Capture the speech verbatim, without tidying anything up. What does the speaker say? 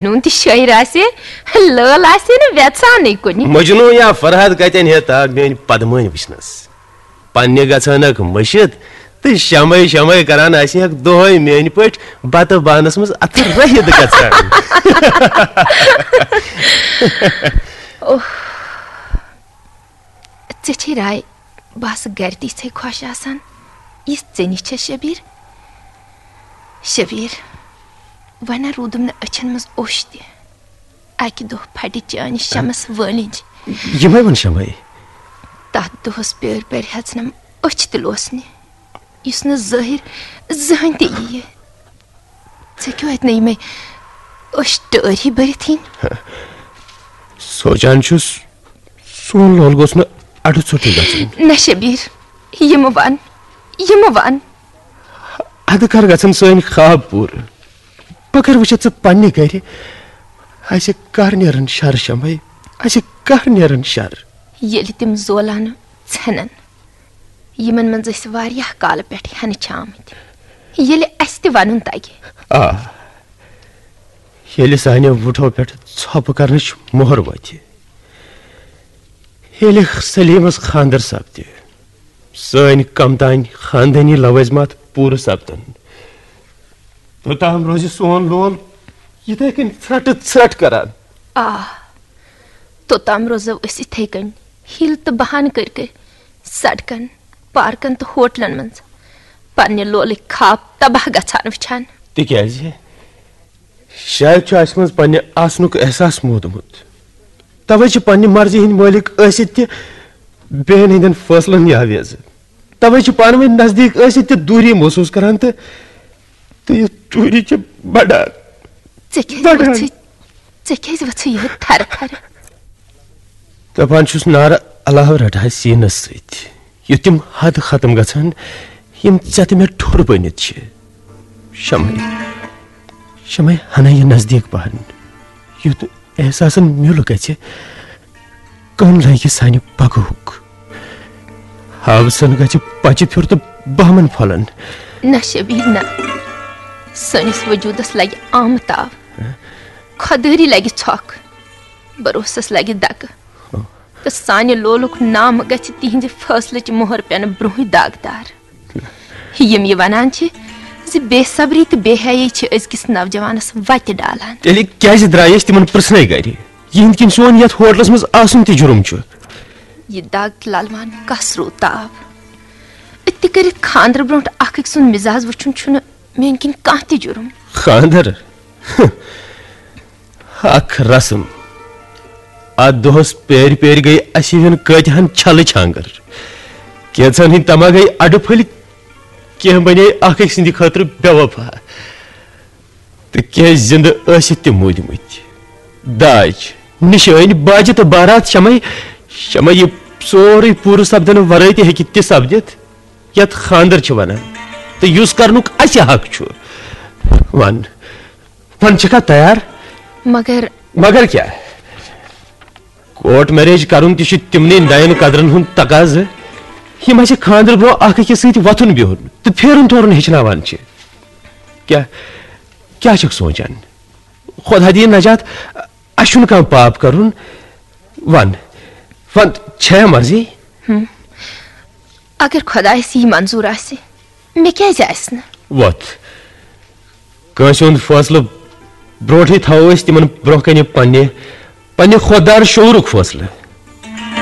نوٗن تہٕ شٲعر آسہِ، لٲل آسہِ نہٕ وٮ۪ژھانٕے کُنہِ۔ مجنوٗ یا فرحت کتٮ۪ن ہیٚتھ آو میٲنۍ پدمٲنۍ وٕچھنس؟ پننہِ گژھنک مٔشِتھ تہٕ شمے شمے کران آسہِ ہکھ دۄہے میٲنۍ پٲٹھۍ بتہٕ بانس منٛز اتھٕ رٔہِتھ گژھان۔ اوہ، ژےٚ چھے راے، بہٕ آسہٕ گرِ تہِ یِژھے خۄش آسان، یِژھ ژےٚ نِش چھےٚ شبیٖر۔ شبیٖر، وۄنۍ روٗدُم نہٕ أچھن منٛز اوٚش تہِ۔ اکہِ دۄہ پھٹہِ چانہِ شمس وٲلِنج۔ یِمے وۄنۍ شمے۔ تتھ دۄہس پیٲرۍ پیٲرۍ ہٮ۪ژنم أچھ تہِ لوسنہِ، یُس نہٕ ظٲہِر زٕہٕنۍ تہِ یِیہِ۔ ژےٚ کیوں اتہِ نہٕ یِمے أچھ ٹٲرۍ ہی بٔرِتھ یِنۍ؟ سونچان چھُس، سون لول گوٚژھ نہٕ اڈٕ ژوٚٹُے گژھُن۔ نہ شبیٖر، یِمہٕ ون، یِمہٕ ون۔ ادٕ کر گژھن سٲنۍ خواب پوٗرٕ؟ بہٕ کر وٕچھتھ ژٕ پننہِ گرِ؟ اسہِ کر نیرن شر شمے؟ اسہِ کر نیرن شر؟ ییٚلہِ تِم زولانہٕ ژھٮ۪نن، یِمن منٛز أسۍ واریاہ کالہٕ پٮ۪ٹھ ہٮ۪نہٕ چھِ آمٕتۍ، ییٚلہِ اسہِ تہِ ونُن تگہِ۔ آ، ییٚلہِ سانیو وُٹھو پٮ۪ٹھ ژھۄپہٕ کرنٕچ مۄہر وۄتھِ، ییٚلہِ سلیمس خاندر سپدِ، سٲنۍ کم تام خاندٲنی لوٲزمات پوٗرٕ سپدن، توٚتام روزِ سون لول یِتھے کٔنۍ ژھرٹہٕ ژھرٹ کران۔ آ، توٚتام روزو أسۍ یِتھے کٔنۍ، ہیٖلہٕ تہٕ بہانہٕ کٔرۍ کٔرۍ سڑکن، پارکن تہٕ ہوٹلن منٛز پننہِ لولٕکۍ خواب تباہ گژھان وٕچھان۔ تِکیازِ شاید چھُ اسہِ منٛز پننہِ آسنُک احساس موٗدمُت۔ توے چھِ پننہِ مرضی ہٕنٛدۍ مٲلِک ٲسِتھ تہِ بیٚین ہٕنٛدٮ۪ن فٲصلن یاویز۔ توے چھِ پانہٕ ؤنۍ نزدیٖک ٲسِتھ تہِ دوٗری محسوٗس کران تہٕ، تہٕ یہِ دوٗری چھِ بڑان۔ ژےٚ کیٛازِ بڑان۔ ؤژھٕے، ژےٚ کیٛازِ ؤژھٕے یِہوٚے تھرٕ تھرٕ؟ دپان چھُس نارٕ علاوٕ رٹہٕ ہا سیٖنس سۭتۍ، یُتھ تِم حد ختم گژھن، یِم ژےٚ تہٕ مےٚ ٹھوٚر بٔنِتھ چھِ۔ شمے، شمے ہنا یہِ نزدیٖک پہن، یُتھ احساسن میُل گژھِ، کٔم لگہِ سانہِ پگہُک۔ ہاوسن گژھِ پچہِ پھیُر تہٕ بہمن پھۄلن۔ نہ شبیٖر نہ، سٲنِس وجوٗدس لگہِ آمہٕ تاو، خۄدٲری لگہِ ژھۄکھ، بروسس لگہِ دکہٕ، تہٕ سانہِ لولُک نام گژھِ تِہنزِ فٲصلٕچ مۄہر پٮ۪نہٕ برونہٕے داغدار۔ یِم یہِ ونان چھِ زِ بے صبری تہٕ بے حیٲیی چھِ أزکِس نوجوانس وتہِ ڈالان۔ تیٚلہِ کیازِ درٛایہِ أسۍ تِمن پرژھنے گرِ؟ یِہنٛدۍ کِنۍ سون یتھ ہوٹلس منٛز آسُن تہِ جُرم چھُ۔ یہِ دگ للوان کس روٗد تاو؟ أتہِ تہِ کٔرِتھ خاندرٕ برونٹھ اکھ أکۍ سُنٛد مزاج وٕچھُن چھُنہٕ میٲنۍ کِنۍ کانٛہہ تہِ جُرم۔ خاندر؟ اکھ رسم۔ اتھ دۄہس پیرِ پیرِ گٔے اسہِ ہِوٮ۪ن کٲتہن چھلٕچ ہانگر۔ کینژن ہٕنٛدۍ تما گٔے اڈٕ پھٔلۍ، کینٛہہ بنے اکھ أکۍ سٕنٛدِ خٲطرٕ بے وفا۔ تہٕ کینٛہہ زِندٕ ٲسِتھ تہِ موٗدمٕتۍ۔ داج، نِشٲنۍ، باجہِ تہٕ بارات شمے، شمے یہِ سورُے پوٗرٕ سپدنہٕ ورٲے تہِ ہیٚکہِ تہِ سپدِتھ، یتھ خاندر چھِ ونان، تہٕ یُس کرنُک اسہِ حق چھُ۔ ون، ون، چھکھا تیار؟ مگر مگر کیٛاہ؟ کورٹ میریج کرُن تہِ چھُ تِمنٕے نَین قدرن ہُنٛد تقاضہٕ، یِم اسہِ خاندرٕ برونٛہہ اکھ أکِس سۭتۍ وۄتھُن بِہُن تہٕ پھیرُن تورُن ہیٚچھناوان چھِ۔ کیٛاہ، کیٛاہ چھکھ سونٛچان؟ خۄدا دِیِن نجات، اسہِ چھُنہٕ کانٛہہ پاپ کرُن۔ ون، ون، چھےٚ مرضی؟ ہم۔ اگر خۄدایس یی منظوٗر آسہِ، مےٚ کیٛازِ آسہِ نہٕ؟ وۄتھ۔ کٲنٛسہِ ہُنٛد فٲصلہٕ برونٛٹھٕے تھاوو أسۍ تِمن برونٛہہ کنہِ پننہِ، پننہِ خۄدار شعوٗرُک فٲصلہٕ۔